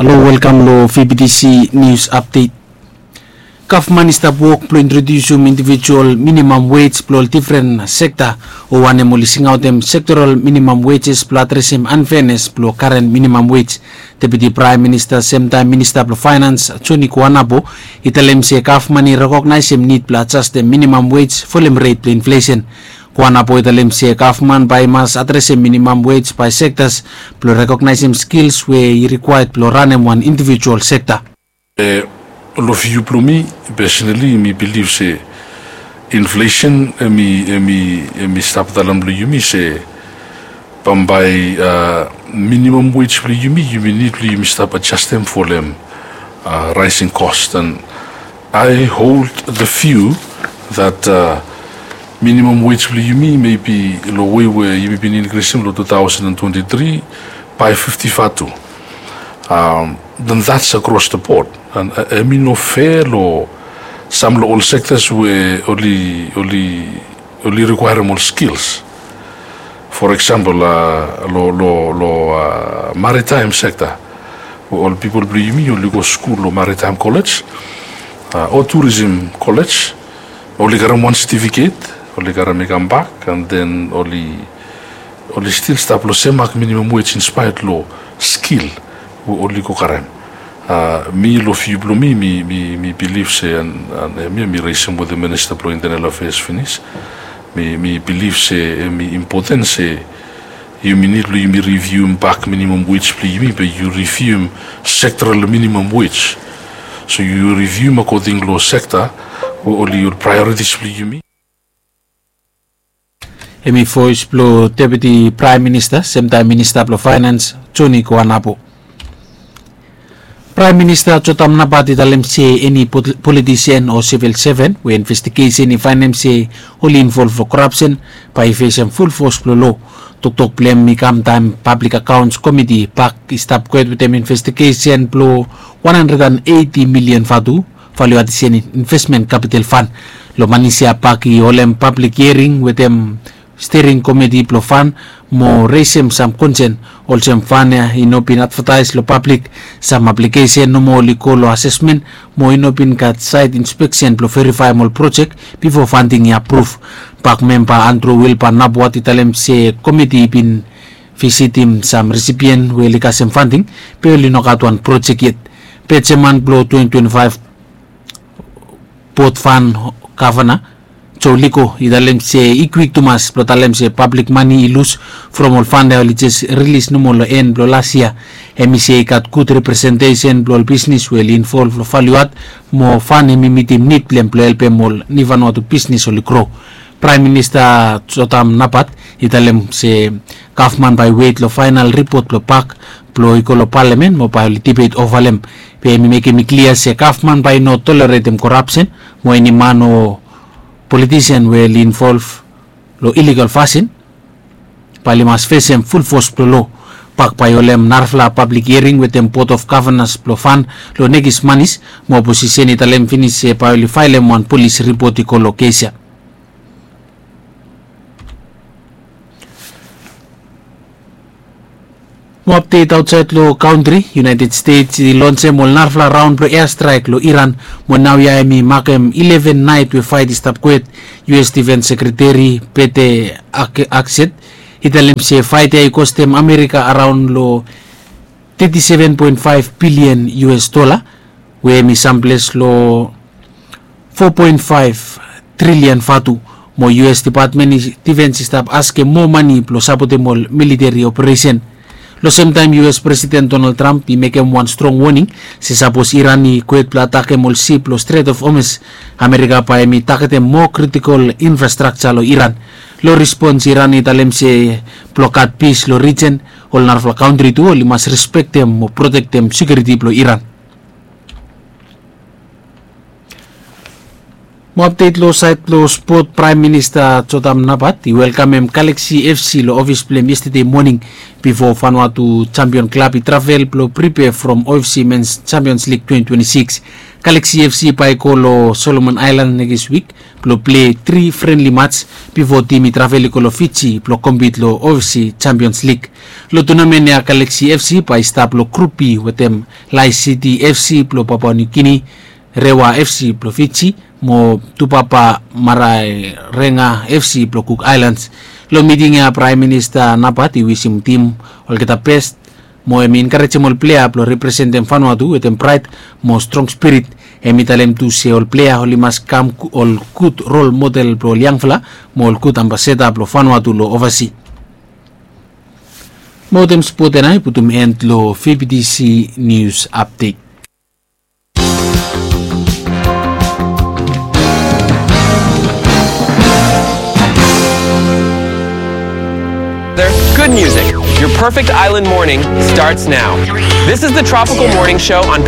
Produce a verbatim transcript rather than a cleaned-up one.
Halo, welkam long V B T C News Update. Gavman i stap wok blong introdiusim individual minimum wage blong ol difren sekta, o wanem oli singaotem sektoral minimum wages blong adresim unfairness blong karen minimum wage. Deputi Praem Minista semtaem Minista blong Faenans Joni Kuanapo i talem se gavman i rekognaesim nid blong ajastem minimum wage folem ret blong inflesen. Kuanapo i talem se gavman bae i mas adresim minimum wage bae sektas blong rekognaesim skils we i rikwaed blong ranem wan individual sekta. Long viu blong mi, personali mi bilif se inflesen em i em i em i stap daon long yumi se bambae minimum wage blong yumi, yumi nid blong yumi stap ajastem folem raesing kos. And I hold the view that minimum wage blong yumi mebi long wei we yumi bin inkrisim long two thousand and twenty-three bae fifti vatu. Then that's across the board. And em i no fair long sam long ol sektas we oli oli oli rikwaerem ol skils. For example, long long long maritaem sekta we ol pipol blong yumi oli go skul long maritaem kolej o turisim kolej, oli karem wan setifiket, oli karem i kambak, and then oli oli stil stap long sem mak minimum wage inspaet long skil we oli go karem. Mi long viu blong mi mi mi bilif se, and em ya mi resim wetem minista blong intenel afeas finis, mi bilif se em i impoten se yumi nid blong yumi rivium bak minimum wage blong yumi be yu rivium sektoral minimum wage. So yu rivium akoding long sekta we oli ol praeoritis blong yumi. Em i voes blong Deputi Praem Minista semtaem Minista blong Faenans Joni Kuanapo. Praem Minista Jotam Napat i talem se eni politisen o sivil seven we investigesen i faenem se oli involv long korapsen bae i fesem fulfos blong lo. Toktok blong em i kam taem Pablik Akaons Komiti bak i stap kwet wetem investigesen blong wan handred and eiti milian vatu valiu adisen invesmen kapital fan. Long manis ya bak i holem pablik hiering wetem stering komiti blong fan mo resem sam konsen olsem fan ya i no bin advataes long pablik, sam aplikesen nomo oli go long asesmen mo i no bin gat saet inspeksen blong verifaem ol projek bifo fanting i apruv. Bak memba Andrew Wilbur Napwat i talem se komiti i bin visitim sam risipien we oli kasem fanting be oli no gat wan projek yet. Be jeman blong twenty twenty-five bot fan gavana Joe Leko i talem se i kwik tumas blong talem se pablik mane i lus from ol fan ya oli jes rilis nomo long en blong las yia. Em i se i gat gud representesen blong ol bisnis we oli involv long valiu ad mo fan em i mitim nid blong em blong helpem ol nivanwatu bisnis oli gro. Praem Minista Jotam Napat i talem se gavman bae i wet long faenal ripot blong bak blong i go long palamen mo bae oli dibet ova long em. Be em i mekem i klia se gavman bae i no toleretem korapsen mo eni man o politisen we oli involv long iligal fasin bae oli mas fesem fulfos blong lo. Bak bae i holem narafala pablik hiering wetem bot of gavanas blong fan long nekis manis mo oposisen i talem finis se bae oli faelem wan polis ripot i go long kes ya. Mo apdet aotsaed long kantri, United States i lonsem ol narafala raon blong eastraek long Iran mo naoia em i makem ileven naet we faet i stap kwet. U S Defens Sekreteri Pete Hegseth i talem se faet ya i kostem Amerika araon long teti seven poen faef bilian U S dola we em i samples long fo poen faef trilian vatu. Mo U S Depatmen Difens i stap askem moa mane blong sapotem ol militeri operesen. Long semtaem U S Presiden Donald Trump i mekem wan strong woning se sapos Iran i kwet blong atakem ol sip long Strait of Hormuz, Amerika bae em i tagetem moa kritikol infrastrakja long Iran. Long rispons Iran i talem se blong gat pis long rijen, ol narafala kantri tu oli mas respektem mo protektem sekiuriti blong Iran. Mo apdet long saed blong spot, Praem Minista Jotam Napat i welkamem Galaxy F C long ofis blong hem yestade moning bifo Vanuatu Champion Klab i travel blong pripea from O F C Men's Champions League twenty twenty-six. Galaxy FC bae i go long Solomon Aelan nekis wik blong pilei tri frenli mats bifo tim i travel i go long Fiji blong kompit long OFC Champions Lig. Long tunamen ya Galaxy FC bae i stap long Grup B wetem Lae City FC blong Papua Niu Gini, Rewa FC blong Fiji, mo Tupapa Maraerenga FC blong Cook Islands. Long miting ya Praem Minista Napat i wisim tim olgeta bes mo hem i enkarejem ol plea blong representem Vanuatu wetem praed mo strong spirit. Hem i talem tu se ol plea oli mas kam ol gud rol model blong ol yangfala mo ol gud ambasada blong Vanuatu long ovasi. Mo wetem spot ya nao i putum en long VBTC News Update. Good music. Your perfect island morning starts now. This is the Tropical Morning Show on